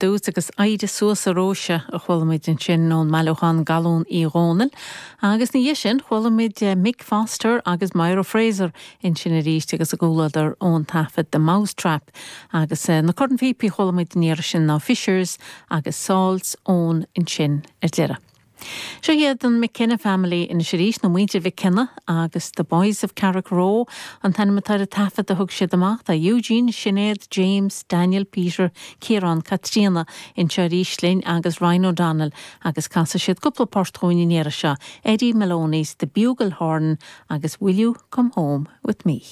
Dtús agus Éirigh Suas a Róise a chuala muid ansin ón mbailiúchán Galún Uí Dhónaill agus ina dhiaidh sin chuala muid Mick Foster agus Myra Fraser ansin arís agus a gcomhluadar ón taifead The Mousetrap agus na cornphíopaí a chuala muid an iarraidh sin ná Fishers agus Salt's Own ansin ar deireadh. Seo iad an McKenna Family anois arís, nó Muintir Mhic Cionnaith, agus The Boys of Carrickroe an t-ainm atá ar an taifead a thug siad amach. Tá Eugene, Sinéad, James, Daniel, Peter, Ciarán, Caitríona anseo arís linn agus Ryan O'Donnell agus casfaidh siad cúpla port dhúinn an iarraidh seo, Eddie Maloney's The Bugle Horn agus Will You Come Home With Me?